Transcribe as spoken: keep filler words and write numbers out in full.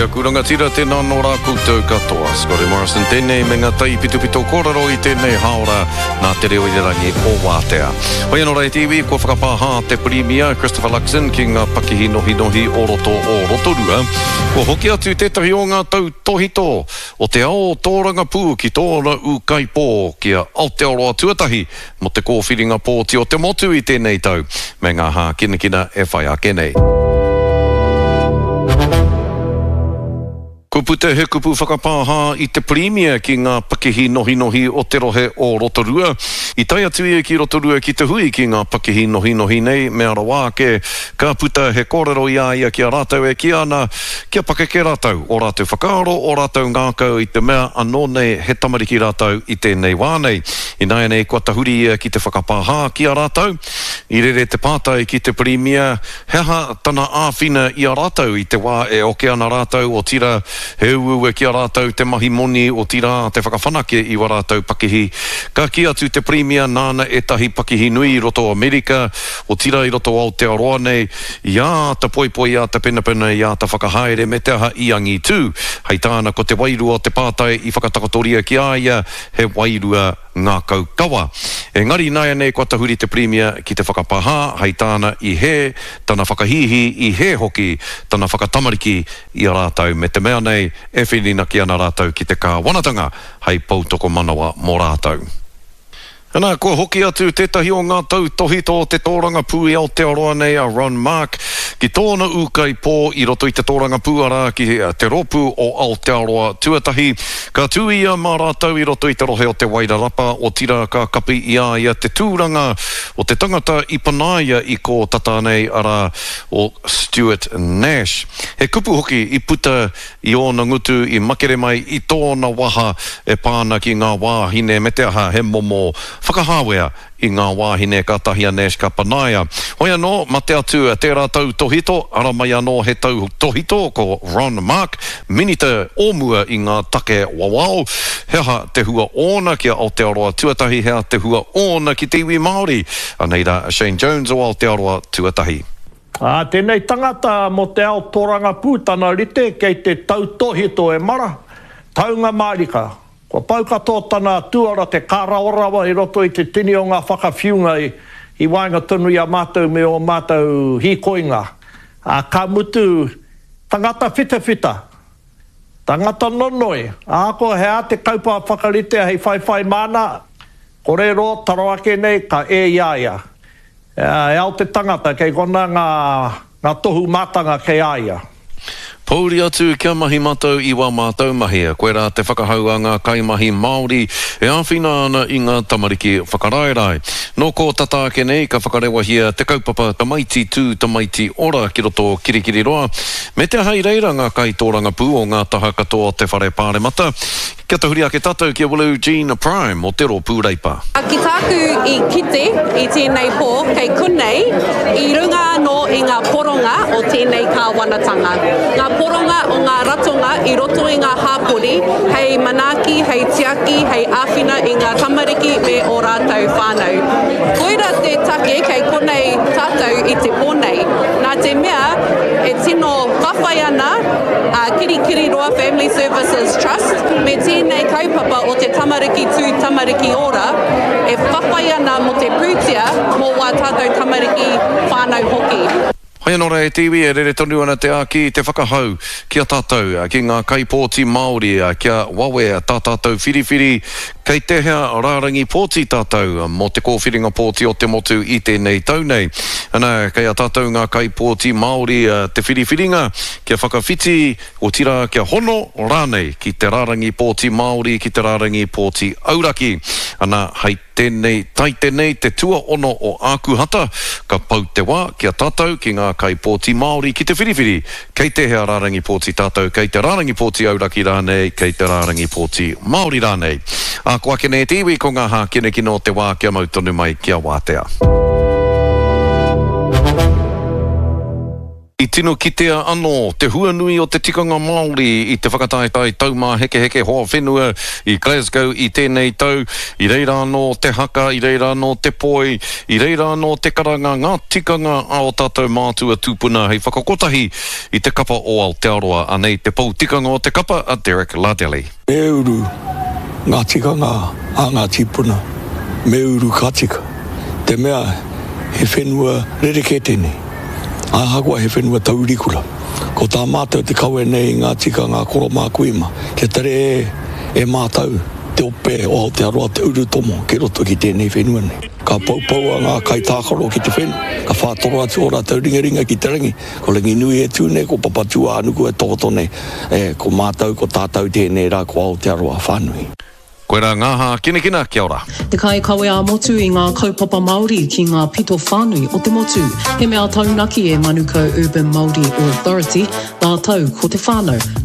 E aku rangatira, tēnā nō rā koutou katoa. Scotty Morrison tēnei me ngā taipitopito kōrero i tēnei hāora nā Te Reo Irirangi o Wātea. Hoi anō rā e te iwi, kua whakapāhā te Pirimia Christopher Luxon ki ngā pakihi nohinohi o roto o Rotorua. Kua hoki atu tētahi o ngā tautōhito o te ao tōrangapū ki tōna ūkaipō ki a Aotearoa Tuatahi mō te kōwhiringa pōti o te motu i tēnei tau me ngā hākinakina e whai ake nei. Kua puta he kupu whakapāhā i te Pirimia ki ngā pakihi nohinohi o te rohe o Rotorua. I tae atu ia ki Rotorua ki te hui ki ngā pakihi nohinohi nei, mea rawa ake, ka puta he kōrero i a ia ki a rātou e kī ana kia pakeke rātou, ō rātou whakaaro, ō rātou ngākau i te mea anō nei he tamariki rātou i tēnei wā nei. Ināianei kua tahuri ia ki te whakapāhā ki a rātou. I rere te pātai ki te Pirimia he aha tana āwhina i a rātou i te wā e oke ana rātou, otirā he uaua ki a rātou te mahi moni, otirā te whakawhanake i wā rātou pakihi. Ka kī atu te Pirimia nāna ētahi pakihi nui i roto Amerika, otirā i roto Aotearoa nei, i āta poipoi, i āta penapena, i āta whakahaere me te aha i angitū. Hei tāna ko te wairua o te pātai i whakatakotoria ki a ia he wairua ngākau kawa. Engari ināianei kua tahuri te Pirimia ki te whakapāhā, hei tāna i hē tana whakahīhī, i hē hoki tana whakatamariki i a rātou me te mea nei e whirinaki ana rātou ki te kāwanatanga hei poutokomanawa mō rātou. Ana, kua hoki atu tētahi o ngā tautōhito o te tōrangapū i Aotearoa nei a Ron Mark ki tōna ūkaipō i roto i te tōrangapū arā ki te rōpū o Aotearoa Tuatahi. Ka tū ia mā rātou i roto i te rohe o Te Wairarapa, otirā ka kapi i a ia te tūranga o te tangata i panaia i kō tata nei arā o Stuart Nash. He kupu hoki i puta i ōna ngutu i makere mai i tōna waha e pā ana ki ngā wāhine me te aha he momo whakahāwea i ngā wāhine kātahi a Nash ka panaia. Hoi anō, mate atu tērā tautōhito, ara mai anō he tautōhito ko Ron Mark, Minita o mua i ngā take wawao. He aha te hua ōna ki a Aotearoa Tuatahi, he aha te hua ōna ki te iwi Māori? Anei rā a Shane Jones o Aotearoa Tuatahi. Ā, tēnei tangata mō te ao tōrangapū tana rite kei te tautōhito e mara, taunga mārika. Kua pau katoa tana tuara te kārawarawa i roto i te tini o ngā whakawhiunga i, i waenga tonu i a mātou me ō mātou hīkoinga. Ā, ka mutu, tangata whitawhita, tangata nonoi, ahakoa he aha te kaupapa whakaritea hei whaiwhai māna, kore roa taro ake nei ka e i a ia. E ao te tangata, kei konā ngā, ngā tohu mātanga kei a ia. Pōuri atu kia mahi mātou i wā mātou mahi. Koirā te whakahau a ngā kaimahi Māori e āwhina ana i ngā tamariki whakaraerae. Nō kō tata ake nei ka whakarewahia te kaupapa Tamaiti Tū Tamaiti Ora ki roto o Kirikiriroa, me te aha i reira ngā kaitōrangapū o ngā taha katoa o te Whare Pāremata. Kia tahuri ake tātou ki a Willow Jean Prime o te Rōpū Reipa. Ki tāku i kite i tēnei pō kei konei, i runga anō i ngā poronga o tēnei kāwanatanga, ngā poronga o ngā ratonga i roto i ngā hāpori hei manaaki, hei tiaki, hei āwhina i ngā tamariki me ō rātou whānau. Koira te take kei konei tātou i te pō nei, nā te mea e tino whawhai ana a Kirikiriroa Family Services Trust me tēnei kaupapa o te Tamariki Tū Tamariki Ora e whawhai ana mō te pūtea mō wā tātou tamariki, whānau hoki. Hoi anō rā e te iwi, e rere tonu ana te āki, te whakahau ki a tātou, ki ngā kaipōti Māori, kia wawe tā tātou whiriwhiri kei tēhea rārangi pōti tātou mō te kōwhiringa pōti o te motu i tēnei tau nei. Ana, kei a tātou ngā kaipōti Māori te whiriwhiringa kia whakawhiti, otirā kia hono rānei ki te rārangi pōti Māori, ki te rārangi pōti auraki. Ana, hei tēnei taite nei te tuaono o Ākuhata, ka pau te wā ki a tātou, ki ngā kaipōti Māori ki te whiriwhiri kei tēhea rārangi pōti tātou, kei te rārangi pōti auraki rānei, kei te rārangi pōti Māori rānei. Ā, ko ake nei te iwi, ko ngā hākinakina o te wā kia mau tonu mai kia wātea. I tino kitea anō te huanui o te tikanga Māori i te whakataetae Taumāhekeheke Hoa Whenua i Glasgow i tēnei tau. I reira anō te haka, i reira anō te poi, i reira anō te karanga, ngā tikanga a ō tātou mātua tūpuna hei whakakotahi i te kapa o Aotearoa. Anei te pou tikanga o te kapa, a Derek Lardelli. Me uru ngā tikanga a ngā tīpuna, me uru ka tika, te mea he whenua rerekē tēnei. Ahakoa he whenua taurikura, ko tā mātou te kawe nei i ngā tikanga a koro mā kui mā, kia tere e mātou te ope o Aotearoa te urutomo ki roto ki tēnei whenua nei. Ka poupoua ngā kaitākaro ki te whenua, ka whātoro atu ō rātou ringaringa ki te rangi, ko Ranginui e tū nei, ko Papatūānuku e takoto nei, e, ko mātou, ko tātou tēnei rā, ko Aotearoa whānui. Koirā ngā hākinakina, kia ora. Te kaikawe ā-motu i ngā kaupapa Māori ki ngā pito whānui o te motu. He mea taunaki e Manukau Urban Māori Authority, rātou ko te whānau.